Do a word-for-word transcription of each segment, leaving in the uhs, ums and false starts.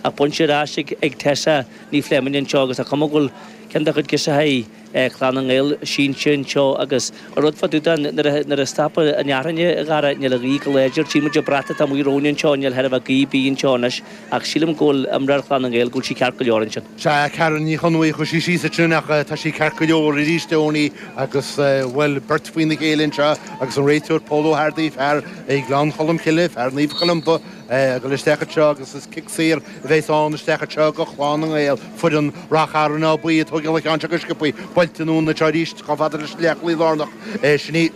Ach bainte ar ais ag Tessa Ní Fleming anseo agus tá cuma go bhfuil ceann de chuid girseachaí Chlann na nGael sínte anseo agus an rud fá dtaobh de nuair a stopadh an fhearthainn a Dhara níl an ghaoth go láidir. Tchí muid an brat atá amuigh romhainn anseo níl chor a bheith gaoth ar bith anseo anois ach sílim go bhfuil imreoir Chlann na nGael go bhfuil sí ceart go leor ansin. Sea, Karen Ní Chonmhaigh chuaigh sí síos ansin ach tá sí ceart go leor arís Tony agus bhuel beirt faoina chéile anseo agus an réiteoir Paul O'Hardy fear ag Gleann Cholm Cille, fear Naomh Columba ag dul isteach anseo agus is cic saor a bheas ann isteach anseo go Chlann na nGael foireann Ráth Chairn Áth Buí ag tógáil an ceann seo go sciobtha buailte anonn anseo arís chomh fada leis an leathchúlaí lárnach sin í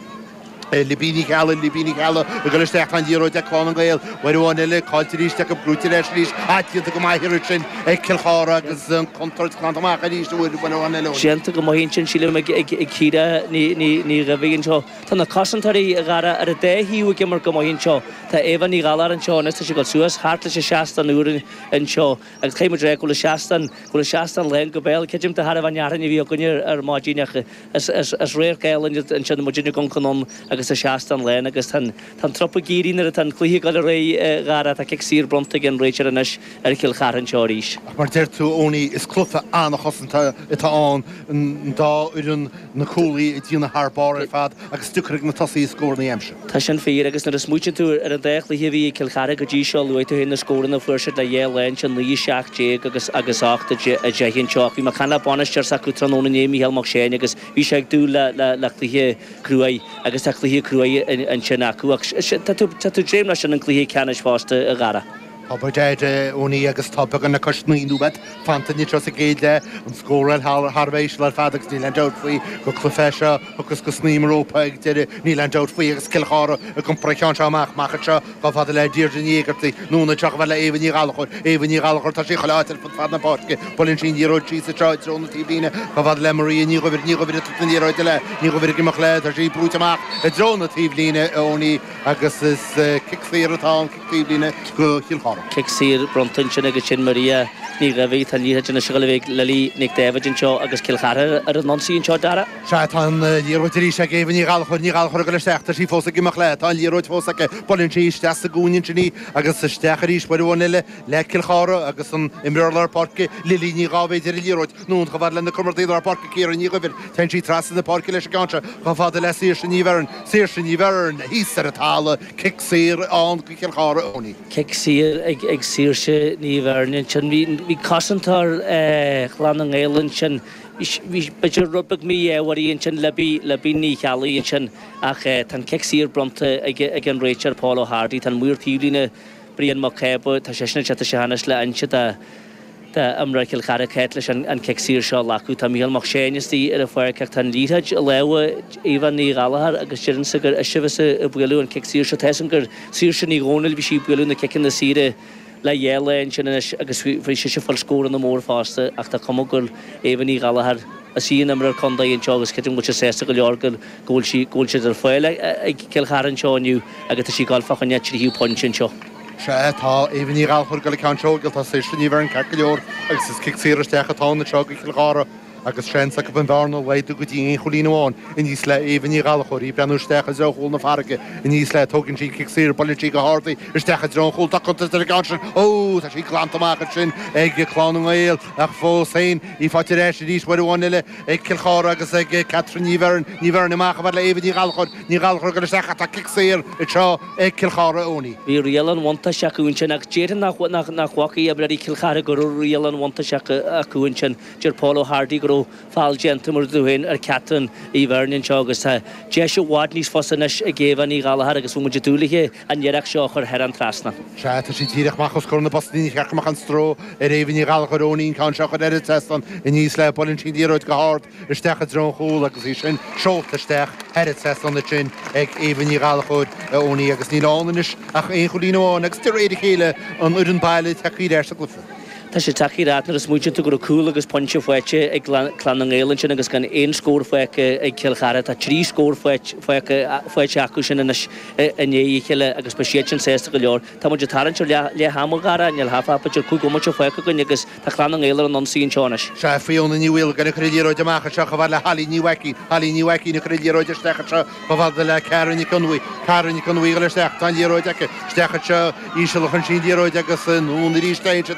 Libby Ní Cheallaigh Libby Ní Cheallaigh ag dul isteach an liathróid ag Clann na nGael uair amháin eile caillte arís acu buaite ar ais arís déanta go maith ar sin ag Cill Chartha agus an contúirt glanta amach arís uair amháin eile. Déanta go maith sin sílim ag ag Ciara Ní Ní Dhuibhigh anseo. Tá na cosantóirí a Dhara ar an dá thaobh ag imirt go maith anseo. Tá Eva Ní Ghalar anseo anois tá sí ag dul suas thart leis an seastán úr anseo agus caithfidh muid rá go bhfuil an seastán go bhfuil an seastán lán go béal creidim de thairbhe an fhearthainn a bhí againne ar maidin ach is is is radharc álainn ansin muid ag amharc anonn agus an seastán lán agus tá tá an trup ag éirí nuair atá an cluiche ag dul ar aghaidh Dhara tá cic saor bronnta ag an réiteoir anois ar Chill Chartha anseo arís. Ach mar deir tú Tony is cluiche an-chosanta atá ann an dá fhoireann na cúlaithe ag déanamh thar barr ar fad agus deacair ag na tosaithe scóranna a aimsiú. Tá sin fíor agus nuair a smaoitíonn tú ar an dá chluiche a bhí ag Cill Chartha go dtí seo luaigh tú féin na scóranna a fuair siad le dhá lá ansin naoi seacht déag agus agus ocht a deich anseo ach bhí mé ag caint le bainisteoir s'acu tráthnóna inné Mícheál Mac Séain agus bhí sé ag dúil le le le cluiche cruaidh agus tá cluiche cruaidh ansin acu ach tá tú tá tú dréim leis sin an cluiche ceannais fosta a Dhara. Tá dead Tony agus tá beagán le cois naoi nóiméad fanta anseo sa gcéad leath an scóráil thar bheith ar fad agus níl aon dabht faoi go cluiche seo agus go sníomar rópa ag deireadh níl aon dabht faoi agus Cill Chartha ag iompar an ceann seo amach amach anseo chomh fada le Deirdre Ní Éigeartaigh anonn anseo chomh fada le Éabha Ní Ghallchóir Éabha Ní Ghallchóir tá sí chuile áit ar fud fad na páirce buaileann sí an liathróid síos anseo i dtreo na taobhlíne chomh fada le Maria Ní Dhuibhir Ní Dhuibhir an liathróid eile Ní Dhuibhir ag imeacht le tá sí brúite amach i dtreo na taobhlíne Tony agus is cic saor atá an cic taobhlíne go Chill Chartha. Cic saor bronnta ansin agus sin Maria Ní Dhuibhigh tá liathróid anois le bheith Lily Nic David anseo agus Cill Chartha ar an ionsaí anseo Dara. Sea tá an liathróid arís ag Éabha Ní Ghallchóir Ní Ghallchóir go isteach tá sí fós ag imeacht le tá an liathróid fós aici buaileann sí isteach sa gcúinne ansin í agus isteach arís uair amháin eile le Cill Chartha agus an imreoir lár páirce Lily Ní Dháibhéid ar an liathróid anonn chomh fada lena comrádaí lár páirce Ciara Ní Dhuibhir Téann sí trasna na páirce leis an gceann seo chomh fada le Saoirse Ní Bheirn Saoirse Ní Bheirn thíos ar an talamh cic saor ann go Cill Chartha Tony. Cic saor ag ag Saoirse Ní Bheirn ansin bhí bhí cosantóir Chlann na nGael ansin bhí b'fhéidir rud beag mí-ádhmhar ansin Libby Libby Ní Cheallaigh ansin ach tá an cic saor bronnta ag ag an réiteoir Paul O'Hardy tá an maor taobhlíne Brian Mac Cába tá sé sin tá sé anois le inse de de imreoir Chill Chartha cét leis an an cic saor seo acu tá Mícheál Mac Séain istigh ar an pháirc ach tá an liathróid i lámha Éabha Ní Ghallchóir agus deireann sé gur ise a bheas ag bualadh an cic saor seo tá gur Saoirse Ní Dhomhnaill bhí sí ag bualadh na ciceanna saora le dhá lá ansin anois agus bhí sé fáil scóranna mór fosta ach tá cuma gur Éabha Ní Ghallchóir is í an imreoir contae anseo agus creidim go bhfuil sé sásta go leor go bhfuil sí go bhfuil siad ar fáil ag Cill Chartha anseo inniu agus tá sí ag dul fá choinne tríú pointe anseo. Sea tá Éabha Ní Ghallchóir go le ceann seo tá Saoirse Ní Bheirn ceart go leor agus is cic saor isteach atá anseo go Cill Chartha agus seans acu an bhearna a laghdú go dtí aon chúilín amháin aníos le Éabha Ní Ghallchóir í breathnú isteach i dtreo chúl na farraige aníos le tógann sí cic saor buaileann sí go hard í isteach i dtreo an chúil tá contúirt ar an gceann sin ó tá sí glanta amach ansin ag Clann na nGael ach fós féin í faighte ar ais arís uair amháin eile ag Cill Chartha agus ag Catherine Ní Bheirn Ní Bheirn amach a bheith le Éabha Ní Ghallchóir Ní Ghallchóir go isteach tá cic saor anseo ag Cill Chartha Tony. Bhí riail an bhuntáiste acu ansin ach déarfainn nach nach nach bhfacaí imreoirí Cill Chartha go raibh riail an bhuntáiste acu ansin deir Paul O'Hardy go raibh feall déanta mar tú féin ar Catherine Uí Bheirn anseo agus tá deis i bhfad níos fusa anois ag Éabha Ní Ghallchóir agus bhfuil muid ag dúil léi an iarracht seo a chur thar an trasna. Sea tá sí díreach amach os comhair na bpostaí ní cheart go mbeadh an stró ar Éabha Ní Ghallchóir Tony an ceann seo chur ar an trasnán aníos le buaileann sí an liathróid go hard isteach i dtreo an chúil agus í sin seolta isteach thar an trasnán ansin ag Éabha Ní Ghallchóir Tony agus níl ann anois ach aon chúilín amháin agus de réir a chéile an fhoireann baile tagtha ar ais sa gcluiche. Tá sé tagtha ar nuair a smaoitíonn tú go raibh cúl agus pointe faighte ag Clann na nGael ansin agus gan aon scór faighte ag Cill Chartha tá trí scór faighte acu sin anois i ndiaidh a chéile agus beidh siad sin sásta go leor. Tá muid ag tarraingt ar leath ama Dhara níl b'fhéidir cúig bhomaite fágtha againn agus tá Clann na nGael ar an ionsaí anseo anois. Sea Fiona Ní Mhaolgáin ag cur an liathróid amach anseo chomh fada le Holly Ní Mhaicín Holly Ní Mhaicín ag cur an liathróid isteach anseo chomh fada le Cara Nic Fhionnghaile Cara Nic Fhionnghaile isteach tá an liathróid aici isteach anseo íseal chun sin liathróid agus anonn arís siad